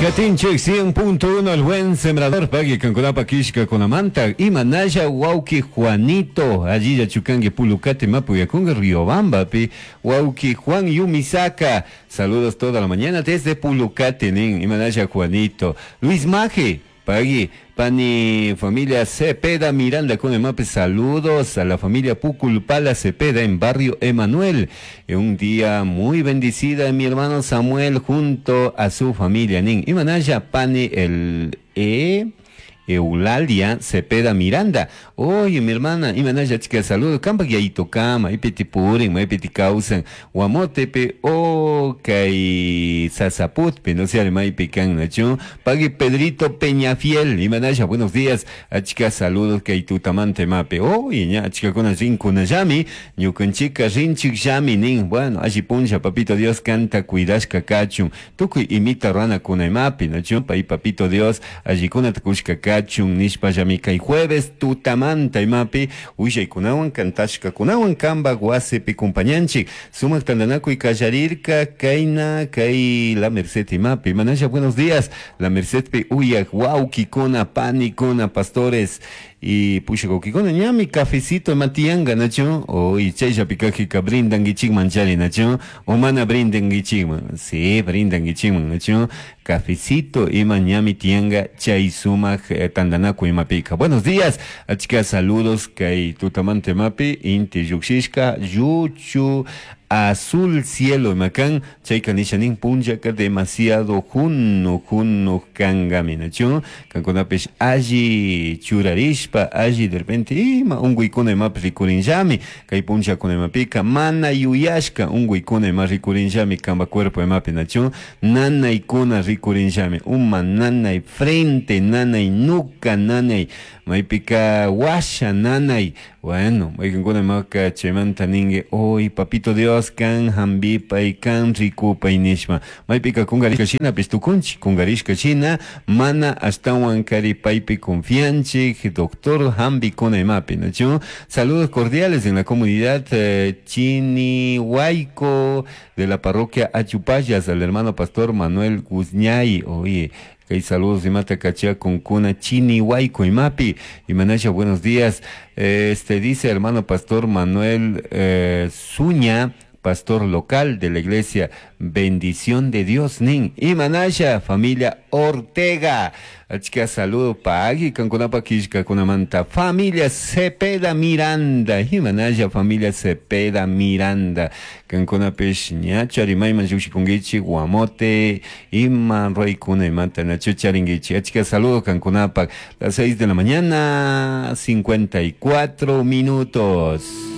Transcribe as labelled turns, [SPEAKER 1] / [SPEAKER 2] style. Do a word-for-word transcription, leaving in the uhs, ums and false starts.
[SPEAKER 1] Katinchik cien punto uno El Buen Sembrador pagui kankunapa kishka kunamanta imanalla wawki Juanito allilla chukanki Pulucate mapuyakunga Riobambapi wawki Juan Yumisaka saludos toda la mañana desde Pulucate nin imanalla Juanito Luis Maje pagui pani familia Cepeda Miranda con Emape, saludos a la familia Puculpala Cepeda en barrio Emanuel. Un día muy bendecida mi hermano Samuel junto a su familia nin. Imanaya pani el E Eulalia Cepeda Miranda. Oye, mi hermana, imanaya chica, saludos. Kampa yaito kama, ipiti purin, maipiti causan, guamotepe, o kay sasaputpe, no sé, maipi kan nacho. Pagui Pedrito Peñafiel, imanaya, buenos días. Achica, saludos, kay tutamante mape. Oye, ña, chica, con rincuna yami, ñukanchika rinchik yami, nin. Bueno, allí puncha, papito Dios canta, cuidashka kachun. Tukuy imita rana kunaimapi, nacho, pai papito Dios, allí kuna tukushka kachun, nishpa yamika y jueves tutamanta imapi willaykunawan kantashka kunawan kamba wasipi kumpañanchik sumak tantanakuy kallarirka kayna kay La Merced imapi manaya buenos días La Mercedpi uyak wawkikuna panikuna pastores y pushakukikuna ñami cafecito matianga nacho o y chayllapikajika brindankichikman chari nacho o mana brindankichikman sí brindankichikman nacho cafecito ima ñami tianga chay sumak eh, tantanakuy imapika buenos días achka saludos kay tutamante mapi inti lluqshishka lluchu azul cielo imakan chayka nishanin punllaka demasiado junno junno kangami nacho kankunapish alli churarishpa alli de repente ima unkuykuna imapish rikurinllami kay punllakuna imapika mana yuyashka unkuykuna ima rikurinllami kamba cuerpo imapi nacho nanaykuna rikurinllami uma nanay frente nanay nuca nanay maypika washa nanay bueno maykankuna imaka chaymanta ninki oy papito Dios kan hampipay kan rikupay nishpa maypika kungarishka shinapish tukunchik kungarishka shina mana ashtawan kari paypi confianchik doctor hampikuna imapi nachu saludos cordiales en la comunidad eh, Chinihuayco de la parroquia Achupayas al hermano pastor Manuel Guzñay oye kay saludos imata kachia con kuna Chinihuayco imapi imanasha buenos días este dice hermano pastor Manuel eh, Zuña pastor local de la iglesia Bendición de Dios nin imanasha familia Ortega achka saludo pagi kankunapa kishkakunamanta familia Cepeda Miranda imanasha familia Cepeda Miranda kankunapish ña charimayman llukshikunkichik guamote ima ruwaykuna imata nachu charinkichik achka saludo kankunapak las seis de la mañana cincuenta y cuatro minutos.